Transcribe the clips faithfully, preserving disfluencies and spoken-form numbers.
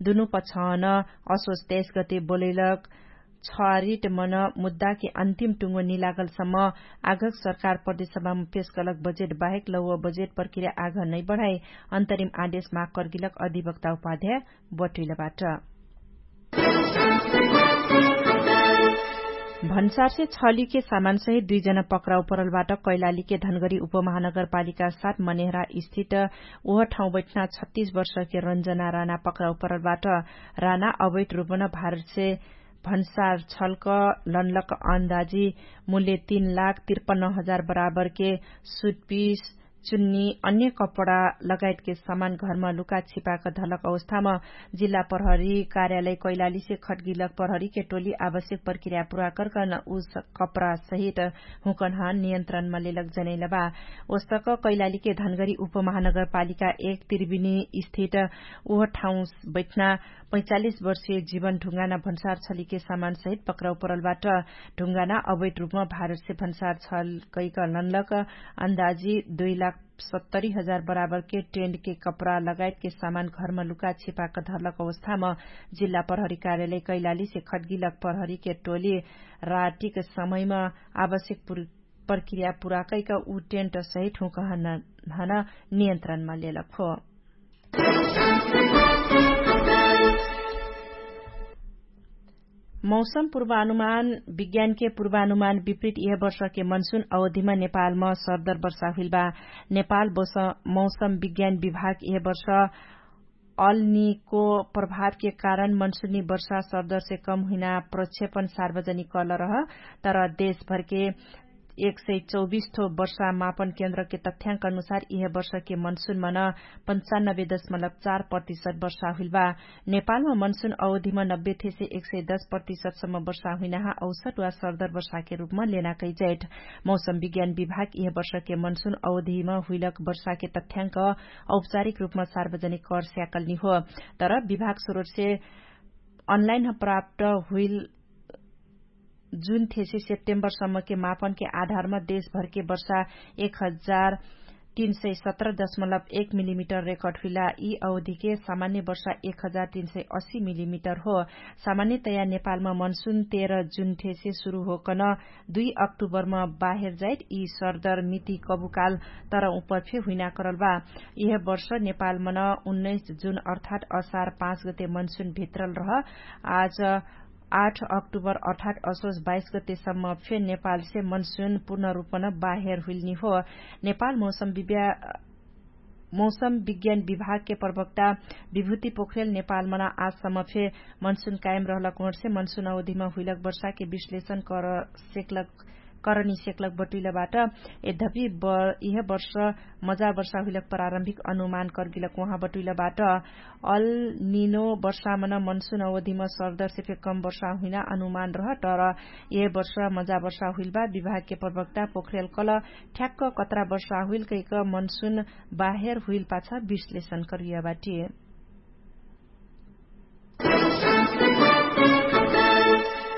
दुनु पछान असोच तेइस गते बोलैलक छरिट मन मुद्दाके अन्तिम टुङ्गो निलागलसम्म आघक सरकार प्रदेशसभामा पेशकलक बजेट बाहेक लौव बजेट प्रक्रिया आघ नै बढाइ अन्तरिम आदेश माग कर्गिलक अधिवक्ता उपाध्याय बटुइलबाट। भन्सारसे छलिके सामानसहित दुइजना पक्राउ परलबाट कैलालीके धनगरी उपमहानगरपालिका सात मनेहरा स्थित ओह ठाउँ बैठना छत्तीस वर्षके रन्जना राना पक्राउ परलबाट। राना अवैध रूपन भारतसे भन्सार छल्क लनलक अन्दाजी मूल्य तीन लाख तिरपन्न हजार बराबरके सुटपिस चुन्नी अन्य कपडा लगायतके समान घरमा लुका छिपाक धलक अवस्थामा जिल्ला प्रहरी कार्यालय कैलालीसे खटगिलक प्रहरीके टोली आवश्यक प्रक्रिया पुरा कर्कन उस कपडा सहित हुँकन्हा नियन्त्रणमा लेलक जनैलबा। ओस्तक कैलालीके धनगरी उपमहानगरपालिका एक त्रिबिनी स्थित उह ठाउँ बैठना पैचालिस वर्षीय जीवन ढुङ्गाना भन्सार छलिके सामानसहित पक्राउ परलबाट। ढुङ्गाना अवैध रूपमा भारतसे भन्सार छल कैक लनलक अन्दाजी दुई लाख सत्तरी हजार बराबरके टेन्टके कपडा लगायतके सामान घरमा लुका छिपाक धरलक अवस्थामा जिल्ला प्रहरी कार्यालय कैलालीसे खटगिलक प्रहरीके टोली रातिक समयमा आवश्यक प्रक्रिया पुरा कैक उ टेन्टसहित हुँकहन हन नियन्त्रणमा लेलक हो। मौसम पूर्वानुमान विज्ञानके पूर्वानुमान विपरीत यह वर्षके मनसुन अवधिमा नेपालमा सरदर वर्षा हुइलबा। नेपाल मौसम विज्ञान विभाग यह वर्ष अल्निको प्रभावके कारण मनसुनी वर्षा सरदरसे कम हुइना प्रक्षेपण सार्वजनिक कल रह। तर देशभरके एक सय चौबिस थो वर्षा मापन केन्द्रके तथ्याङ्क अनुसार यह वर्षके मनसुन मन पन्चानब्बे दशमलब चार प्रतिशत वर्षा हुइलबा। नेपालमा मनसुन अवधिमा नब्बे थेसे एक सय दश प्रतिशतसम्म वर्षा हुइनाहा औसत वा सरदर वर्षाके रूपमा लेना कैजैठ। मौसम विज्ञान विभाग यह वर्षके मनसुन अवधिमा हुइलक वर्षाके तथ्याङ्क औपचारिक रूपमा सार्वजनिक कर स्याकलनी हो। तर विभाग सुरुटसे अनलाइन प्राप्त हुइल जुन थेसे सेप्टेम्बरसम्मके मापनके आधारमा देशभरके वर्षा एक हजार तीन सय सत्र दशमलब एक मिलिमिटर रेकर्ड हुइला। यी अवधिके सामान्य वर्षा एक हजार तीन सय अस्सी मिलिमिटर हो। सामान्यतया नेपालमा मनसुन तेह्र जुन थेसे सुरु होकन दुई अक्टुबरमा बाहेर जाइत यी सरदर मिति कबुकाल तर उपर फे हुइना करल बा। यह वर्ष नेपालमन उन्नैस जुन अर्थात् असार पाँच गते मनसुन भित्रल रह। आज आठ अक्टुबर अर्थात् असोज बाइस गतेसम्म फे नेपालसे मनसुन पूर्ण रूपन बाहेर हुइलनी हो। नेपाल मौसम विज्ञान विभागके प्रवक्ता विभूति पोखरेल नेपालमन आजसम्म फे मनसुन कायम रहलक ओहरसे मनसुन अवधिमा हुइलक वर्षाके विश्लेषण कर सेकलक करनी सेकलक बटुइलबाट। यद्यपि इह वर्ष मजा वर्षा हुइलक प्रारम्भिक अनुमान कर्गिलक उहाँ बटुइलबाट। अल निनो वर्षामन मनसुन अवधिम सरदरसे फे कम वर्षा हुइना अनुमान रह। तर यह वर्ष मजा वर्षा हुइलबा विभागके प्रवक्ता पोखरेल कल ठ्याक्क कत्रा वर्षा हुइल कैक मनसुन बाहेर हुइल पाछा विश्लेषण कर्गिया बाटिए।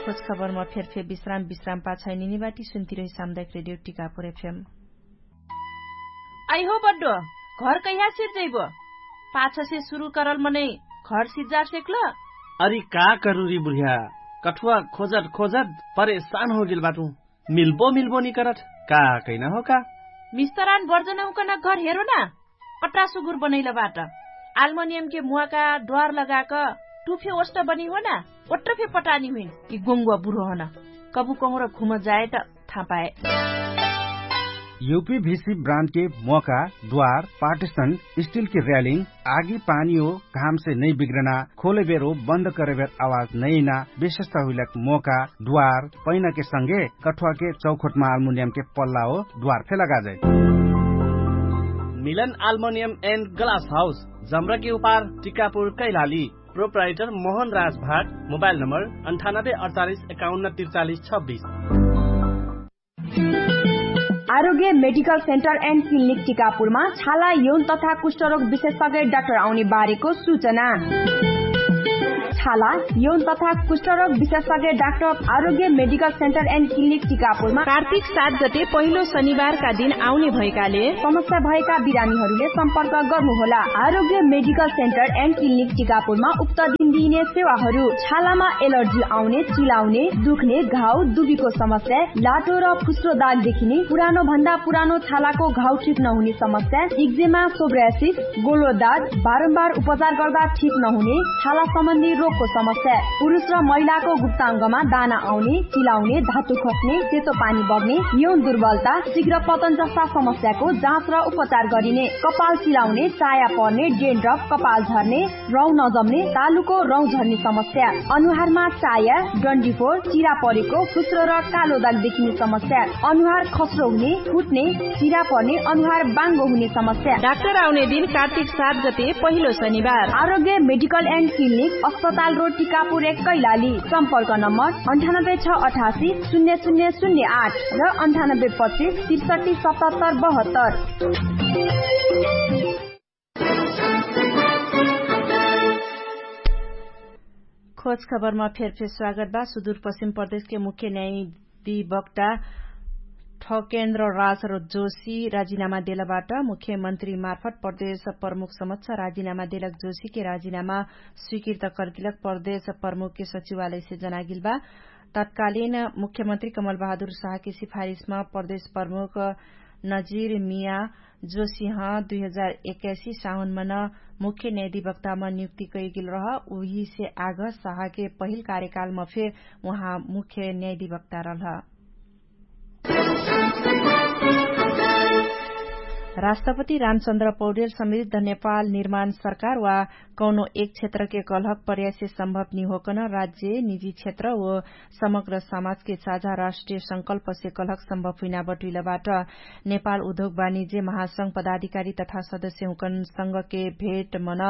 खोजखबरमा फेरफेर विश्राम विश्राम पाछै निनिबाटी सुन्तिरही सामुदायिक रेडियो टिकापुर एफएम। अइहो बड्डो, घर कैहा सिर्जैबो? पाछसे सुरु करल मनै घर सिर्जार सेक्ल? अरि का करुरी बुढिया, कठुवा खोजत खोजत परेशान होगेल बाटु। मिल्बो मिल्बो निकरत का कैना हो का? मिस्तरान बर्जनहुकन घर हेरो ना। कट्रा सुगुर बनैलबाट आल्मोनियमके मुवाका द्वार लगाक टुफे ओष्ट बनिहोना। ओट्रफे पटानी हुइन कि गोङ्गुवा बुढोहन कबु कहुँर घुम जाएत थापाए। युपी भिसी ब्रान्डके मोका द्वार पार्टिसन स्टिलके र्यालिङ आगी पानी हो घामसे नै बिग्रना खोलेबेर हो बन्द करेबेर आवाज नैना विशेषता हुइलक मोका द्वार पैनाके संगे कठुवाके चौखोटमा आल्मुनियमके पल्ला हो द्वार फे लगाजै। मिलन आल्मोनियम एन्ड ग्लास हाउस जम्रके उपार टिकापुर कैलाली। प्रोप्राइटर मोहन राज भाट। मोबाइल नम्बर अन्ठानब्बे अडचालिस एकाउन्न तिरचालिस छब्बिस। आरोग्य मेडिकल सेन्टर एन्ड क्लिनिक टिकापुरमा छाला यौन तथा कुष्ठरोग विशेषज्ञ डाक्टर आउने बारेको सूचना। छाला, यौन तथा कुष्ठरोग विशेषज्ञ डाक्टर आरोग्य मेडिकल सेन्टर एन्ड क्लिनिक टिकापुरमा कार्तिक सात गते पहिलो शनिबारका दिन आउने भएकाले समस्या भएका बिरामीहरूले सम्पर्क गर्नुहोला। आरोग्य मेडिकल सेन्टर एन्ड क्लिनिक टिकापुरमा उक्त दिन दिइने सेवाहरू छालामा एलर्जी आउने, चिलाउने, दुख्ने, घाउ, दुबीको समस्या, लाटो र फुस्रो दाग देखिने, पुरानो भन्दा पुरानो छालाको घाउ ठिक नहुने समस्या, इक्जेमा, सोब्रासिस, गोलो दाग, बारम्बार उपचार गर्दा ठिक नहुने छाला सम्बन्धी रोगको समस्या, पुरुष र महिलाको गुप्ताङ्गमा दाना आउने, चिलाउने, धातु खस्ने, सेतो पानी बग्ने, यौन दुर्बलता, शीघ्र पतन जस्ता समस्याको जाँच र उपचार गरिने, कपाल चिलाउने, चाया पर्ने, डेन्ड्रफ, कपाल झर्ने, रौँ नजम्ने, तालुको रौँ झर्ने समस्या, अनुहारमा चाया, डन्डीफोर, चिरा परेको, फुस्रो र कालो दाग देखिने समस्या, अनुहार खस्रो हुने, फुट्ने, चिरा पर्ने, अनुहार बाङ्गो हुने समस्या। डाक्टर आउने दिन कार्तिक सात गते पहिलो शनिबार। आरोग्य मेडिकल एन्ड क्लिनिक, अस्पताल रोड, टिकापुर एक, कैलाली। सम्पर्क नम्बर अन्ठानब्बे छ अठासी शून्य शून्य शून्य आठ र अन्ठानब्बे पच्चिस त्रिसठी सतहत्तर बहत्तर। खोज खबरमा फेरफेर स्वागत बा। सुदूरपश्चिम प्रदेशके मुख्य न्यायाधिवक्ता ठकेन्द्र राज र जोशी राजिनामा देलबाट मुख्यमन्त्री मार्फत प्रदेश प्रमुख समक्ष राजिनामा देलक। जोशीके राजिनामा स्वीकृत कर्दिलक प्रदेश प्रमुखके सचिवालयसे जनागिल बा। तत्कालीन मुख्यमन्त्री कमल बहादुर साहके सिफारिसमा प्रदेश प्रमुख नजिर मिया जोसिह दुई हजार एक्काइसी साउनमा न मुख्य न्यायाधिवक्तामा नियुक्ति कैगेल रह। उहिसे आग साहके पहिल कार्यकालमा फे उहाँ मुख्य न्यायाधिवक्ता रहल। राष्ट्रपति रामचन्द्र पौडेल समृद्ध नेपाल निर्माण सरकार वा कौनो एक क्षेत्रके कलहक प्रयाससे सम्भव निहोकन राज्य निजी क्षेत्र व समग्र समाजके साझा राष्ट्रिय संकल्पसे कलहक सम्भव हुइना बटुइलबाट। नेपाल उद्योग वाणिज्य महासंघ पदाधिकारी तथा सदस्यहुँकन संघके भेटमन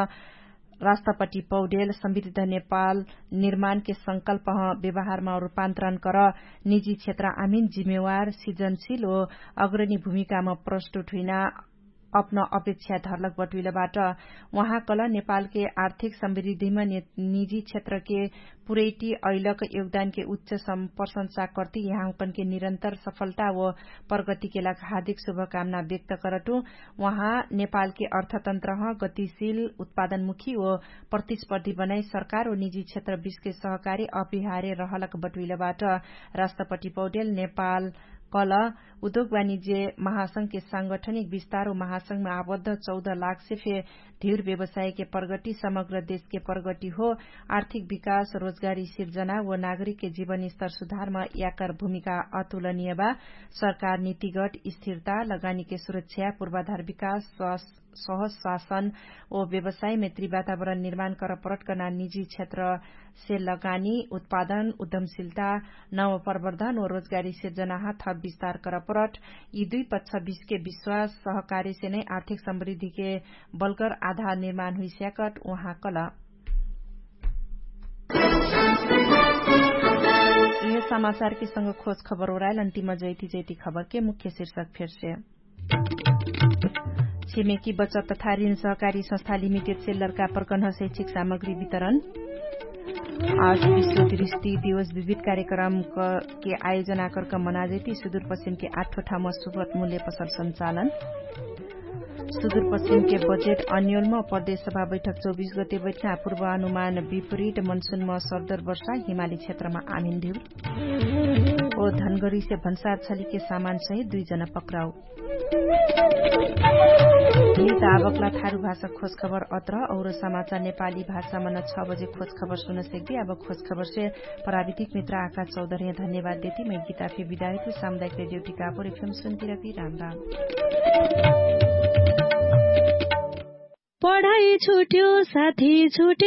राष्ट्रपति पौडेल समृद्ध नेपाल निर्माणके संकल्पह व्यवहारमा रूपान्तरणकर निजी क्षेत्र आमिन जिम्मेवार सिजनशिल व अग्रणी भूमिकामा प्रस्तुत हुइना अपन अपेक्षा धरलक बटुइलबाट। उहाँकल नेपालके आर्थिक समृद्धिमा निजी क्षेत्रके पुरैटी अइलक योगदानके उच्च प्रशंसा कर्ति यहाँकनके निरन्तर सफलता व प्रगतिके लाग हार्दिक शुभकामना व्यक्त करटु। उहाँ नेपालके अर्थतन्त्रह गतिशिल उत्पादनमुखी व प्रतिस्पर्धी बनाइ सरकार व निजी क्षेत्र बिचके सहकारी अपिहारे रहलक बटुइलबाट। राष्ट्रपति पौडेल नेपाल कल उद्योग वाणिज्य महासंघके सांगठनिक विस्तार व महासंघमा आबद्ध चौध लाखसे फे धिउर व्यवसायके प्रगति समग्र देशके प्रगति हो। आर्थिक विकास रोजगारी सिर्जना व नागरिकके जीवनस्तर सुधारमा याकर भूमिका अतुलनियबा। सरकार नीतिगत स्थिरता लगानीके सुरक्षा पूर्वाधार विकास सहज शासन व व्यवसाय मैत्री वातावरण निर्माण करपरट कना निजी क्षेत्रसे लगानी उत्पादन उद्यमशिलता नव प्रवर्धन व रोजगारी सिर्जनाहा थप विस्तार करपरट यि दुई पक्षबिचके विश्वास सहकारीसे नै आर्थिक समृद्धिके बलकर आधार निर्माण हुइस्याकट उहाँ कल। यिहे समाचारके संग खोज खबर ओराइल अन्तिम जैति जैति खबरके मुख्य शिर्षक फेरसे। छिमेकी बचत तथा ऋण सहकारी संस्था लिमिटेडसे लर्का प्रकन्ह शैक्षिक सामग्री वितरण। आज विश्व दृष्टि दिवस विविध कार्यक्रमके आयोजनाकर्क मनाजैती सुदूरपश्चिमके आठो ठाउँमा सुगत मूल्य पसल सञ्चालन। सुदूरपश्चिमके बजेट अन्योलमा प्रदेश सभा बैठक चौबिस गते बैठना पूर्वानुमान विपरीत मनसुनमा सर्दर वर्षा हिमाली क्षेत्रमा आमिन्धिउ। ओ धनगरीसे भन्सार छलिके सामानसहित दुई जना पक्राउ। यिनी त आबकला थारु भाषा खोज खबर अत्र और समाचार नेपाली भाषामा न छ बजे खोज खबर सुन सेक्दी। आबक खोज खबरसे प्राविधिक मित्र आका चौधर्या धन्यवाद देती मै गीता फे विदायकु सामुदायिक रेडियो टिकापुर एफएम सुन्ती रकी राम राम। पढाइ छुट्यो साथी छुट्यो।